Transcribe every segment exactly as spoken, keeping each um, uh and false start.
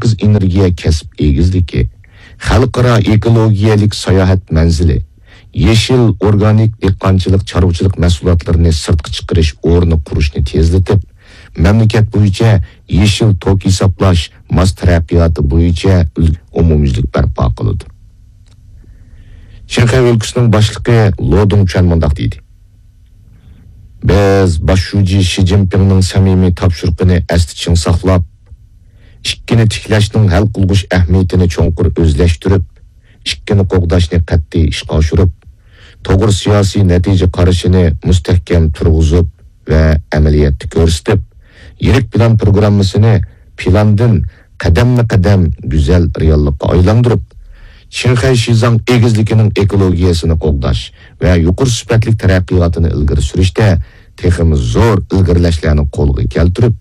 پاكىز ئېنېرگىيە كەسىپ ئېگىزلىكى، خەلقئارا ئېكولوگىيەلىك ساياھەت مەنزىلى، يېشىل ئورگانىك دېھقانچىلىق، چارۋىچىلىق مەھسۇلاتلىرىنى سىرتقا چىقىرىش ئورنى قۇرۇشنى تېزلىتىپ، مەملىكەت بويىچە يېشىل توك ھېسابلاش ماس تەرەققىياتى بويىچە ئۈل-، ئومۇميۈزلۈك بەرپا قىلىدۇ. شىنخەي ئۆلكىسىنىڭ باشلىقى لو دۇڭچۈەن مۇنداق دېدى: بىز باش شۇجى شى جىنپىڭنىڭ سەمىمىي تاپشۇرۇقىنى ئەستە چىڭ ساقلاپ، ئىككىنى تىكلەشنىڭ ھەل قىلغۇچ ئەھمىيىتىنى چوڭقۇر ئۆزلەشتۈرۈپ، ئىككىنى قوغداشنى قەتئىي ئىشقا ئاشۇرۇپ، توغرا سىياسىي نەتىجە قارىشىنى مۇستەھكەم تۇرغۇزۇپ ۋە ئەمەلىيەتتە كۆرسىتىپ، يىرىك پىلان پروگراممىسىنى پىلاندىن قەدەممۇ قەدەم گۈزەل رېئاللىققا ئايلاندۇرۇپ، شىنخەي شىزاڭ ئېگىزلىكىنىڭ ئېكولوگىيەسىنى قوغداش ۋە يۇقىرى سۈپەتلىك تەرەققىياتىنى ئىلگىرى سۈرۈشتە تېخىمۇ زور ئىلگىرىلەشلەرنى قولغا كەلتۈرۈپ،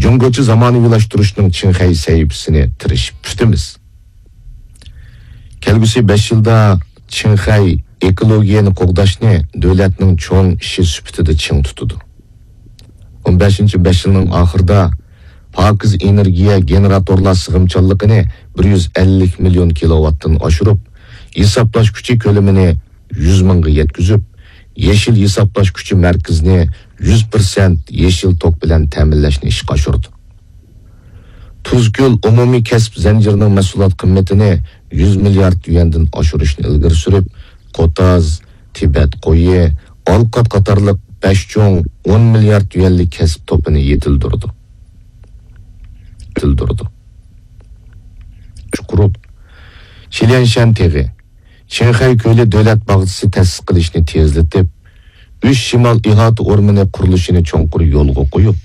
جۇڭگوچە زامانىۋىلاشتۇرۇشنىڭ چىڭخەي سەھىپىسىنى تىرىشىپ پۈتىمىز. كەلگۈسى بەش يىلدا چىڭخەي ئېكولوگىيەنى قوغداشنى دۆلەتنىڭ چوڭ ئىشى سۈپىتىدە چىڭ تۇتىدۇ. ئون بەشىنچى بەش يىلنىڭ ئاخىرىدا پاكىز ئېنېرگىيە گېنېراتورلار سىغىمچانلىقىنى بىر يۈز ئەللىك مىليون كىلوۋاتتىن ئاشۇرۇپ، ھېسابلاش كۈچى كۆلىمىنى يۈز مىڭغا يەتكۈزۈپ، يېشىل ھېسابلاش كۈچى مەركىزىنى يۈز پىرسەنت يېشىل توك بىلەن تەمىنلەشنى ئىشقا ئاشۇردى. تۇزكۆل ئومۇمىي كەسىپ زەنجىرىنىڭ مەھسۇلات قىممىتىنى يۈز مىليارد يۈەندىن ئاشۇرۇشنى ئىلگىرى سۈرۈپ، قوتاز، تىبەت قويى، ئالقات قاتارلىق بەش چوڭ ئون مىليارد يۈەنلىك كەسىپ توپىنى يېتىلدۈردى. يېتىلدۈردى. چۇقۇرۇق، شىليەنشەن تېغى، چىڭخەي كۆلى دۆلەت باغچىسى تەسىس قىلىشنى تېزلىتىپ، ئۈچ شىمال ئىھاتە ئورمىنى قۇرۇلۇشىنى چوڭقۇر يولغا قويۇپ،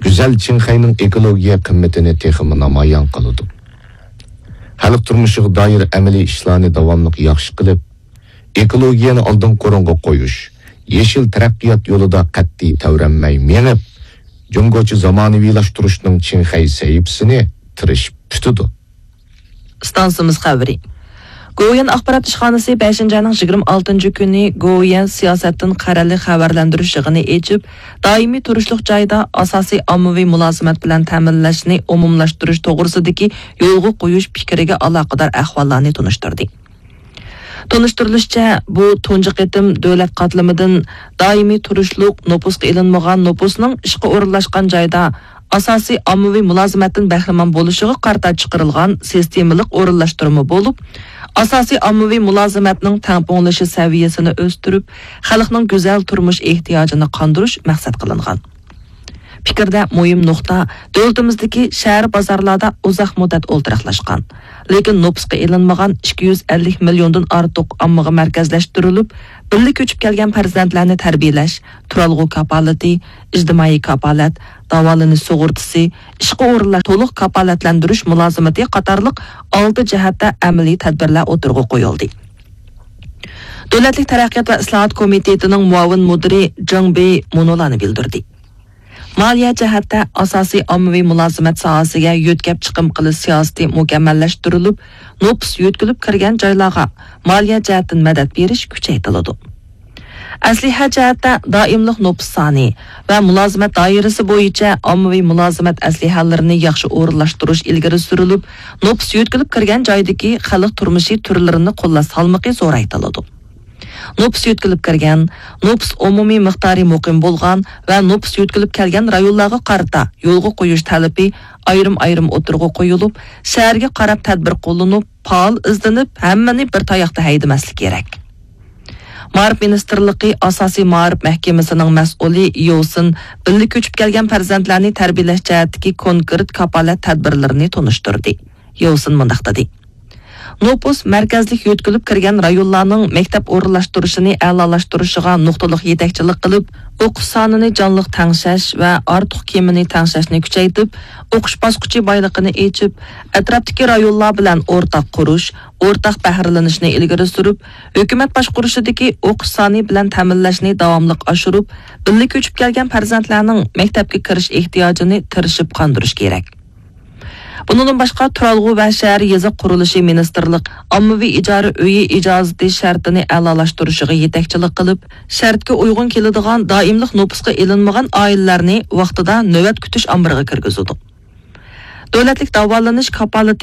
گۈزەل چىڭخەينىڭ ئېكولوگىيە قىممىتىنى تېخىمۇ نامايان قىلىدۇ. خەلق تۇرمۇشىغا دائىر ئەمەلىي ئىشلارنى داۋاملىق ياخشى قىلىپ، ئېكولوگىيەنى ئالدىنقى ئورۇنغا قويۇش، يېشىل تەرەققىيات يولىدا قەتئىي تەۋرەنمەي مېڭىپ، جۇڭگوچە زامانىۋىلاشتۇرۇشنىڭ چىڭخەي سەھىپىسىنى تىرىشىپ پۈتىدۇ. ئىستانسىمىز خەۋىرى. گوۋۇيۈەن ئاخبارات ئىشخانىسى بەشىنچى ئاينىڭ يىگىرمە ئالتىنچى كۈنى گوۋۇيۈەن سىياسەتتىن قەرەللىك خەۋەرلەندۈرۈش يىغىنى ئېچىپ، دائىمىي تۇرۇشلۇق جايدا ئاساسىي ئاممىۋى مۇلازىمەت بىلەن تەمىنلەشنى ئومۇملاشتۇرۇش توغرىسىدىكى يولغا قويۇش پىكرىگە ئالاقىدار ئەھۋاللارنى تونۇشتۇردى. تونۇشتۇرۇلۇشىچە، بۇ تۇنجى قېتىم دۆلەت قاتلىمىدىن دائىمىي تۇرۇشلۇق نوپۇسقا ئېلىنمىغان نوپۇسنىڭ ئىشقا ئورۇنلاشقان جايدا ئاساسىي ئاممىۋى مۇلازىمەتتىن بەھرىمەن بولۇشىغا قارىتا چىقىرىلغان سىستېمىلىق ئورۇنلاشتۇرما بولۇپ، ئاساسىي ئاممىۋى مۇلازىمەتنىڭ تەڭپۇڭلىشىش سەۋىيەسىنى ئۆستۈرۈپ، خەلقنىڭ گۈزەل تۇرمۇش ئېھتىياجىنى قاندۇرۇش مەقسەت قىلىنغان. پىكىردە مۇھىم نۇقتا، دۆلىتىمىزدىكى شەھەر بازارلاردا ئۇزاق مۇددەت ئولتۇراقلاشقان، لېكىن نوپۇسقا ئېلىنمىغان ئىككى يۈز ئەللىك مىليوندىن ئارتۇق ئاممىغا مەركەزلەشتۈرۈلۈپ، بىللە كۆچۈپ كەلگەن پەرزەنتلەرنى تەربىيەلەش، تۇرالغۇ كاپالىتى، ئىجتىمائىي كاپالەت، داۋالىنىش سۇغۇرتىسى، ئىشقا ئورۇنلاش، تولۇق كاپالەتلەندۈرۈش مۇلازىمىتى قاتارلىق ئالتە جەھەتتە ئەمەلىي تەدبىرلەر ئوتتۇرىغا قويۇلدى. دۆلەتلىك تەرەققىيات ۋە ئىسلاھات كومىتېتىنىڭ مۇئاۋىن مۇدىرى جېڭ بېي مۇنۇلارنى بىلدۈردى. مالىيە جەھەتتە ئاساسىي ئاممىۋى مۇلازىمەت ساھەسىگە يۆتكەپ چىقىم قىلىش سىياسىتى مۇكەممەللەشتۈرۈلۈپ، نوپۇس يۆتكىلىپ كىرگەن جايلارغا مالىيە جەھەتتىن مەدەت بېرىش كۈچەيتىلىدۇ. ئەسلىھە جەھەتتە دائىملىق نوپۇس سانى ۋە مۇلازىمەت دائىرىسى بويىچە ئاممىۋى مۇلازىمەت ئەسلىھەلىرىنى ياخشى ئورۇنلاشتۇرۇش ئىلگىرى سۈرۈلۈپ، نوپۇس يۆتكىلىپ كىرگەن جايدىكى خەلق تۇرمۇشى تۈرلىرىنى قوللاش سالمىقى زورايتىلىدۇ. نوپۇس يۆتكىلىپ كىرگەن، نوپۇس ئومۇمىي مىقدارى مۇقىم بولغان ۋە نوپۇس يۆتكىلىپ كەلگەن رايونلارغا قارىتا يولغا قويۇش تەلىپى ئايرىم-ئايرىم ئوتتۇرىغا قويۇلۇپ، شەھەرگە قاراپ تەدبىر قوللىنىپ، پائال ئىزدىنىپ، ھەممىنى بىر تاياقتا ھەيدىمەسلىك كېرەك. مائارىپ مىنىستىرلىقى ئاساسىي مائارىپ مەھكىمىسىنىڭ مەسئۇلى يوسىن بىللە كۆچۈپ كەلگەن پەرزەنتلەرنى تەربىيەلەش جەھەتتىكى كونكرېت كاپالەت تەدبىرلىرىنى تونۇشتۇردى. يوسىن مۇنداق دېدى. نوپۇس مەركەزلىك يۆتكىلىپ كىرگەن رايونلارنىڭ مەكتەپ ئورۇنلاشتۇرۇشىنى ئەلالاشتۇرۇشىغا نۇقتىلىق يېتەكچىلىك قىلىپ، ئوقۇش سانىنى جانلىق تەڭشەش ۋە ئارتۇق كېمىنى تەڭشەشنى كۈچەيتىپ، ئوقۇش باسقۇچى بايلىقىنى ئېچىپ، ئەتراپتىكى رايونلار بىلەن ئورتاق قۇرۇش، ئورتاق بەھرىلىنىشنى ئىلگىرى سۈرۈپ، ھۆكۈمەت باشقۇرۇشىدىكى ئوقۇش سانى بىلەن تەمىنلەشنى داۋاملىق ئاشۇرۇپ، بىللە كۆچۈپ كەلگەن پەرزەنتلەرنىڭ مەكتەپكە كىرىش ئېھتىياجىنى تىرىشىپ قاندۇرۇش كېرەك. بۇنىڭدىن باشقا، تۇرالغۇ ۋە شەھەر يېزا قۇرۇلۇشى مىنىستىرلىق ئاممىۋى ئىجارە ئۆيى ئىجازىتى شەرتىنى ئەلالاشتۇرۇشىغا يېتەكچىلىك قىلىپ، شەرتكە ئۇيغۇن كېلىدىغان دائىملىق نوپۇسقا ئېلىنمىغان ئائىلىلەرنى ۋاقتىدا نۆۋەت كۈتۈش ئامبىرىغا كىرگۈزىدۇ. دۆلەتلىك داۋالىنىش كاپالىتى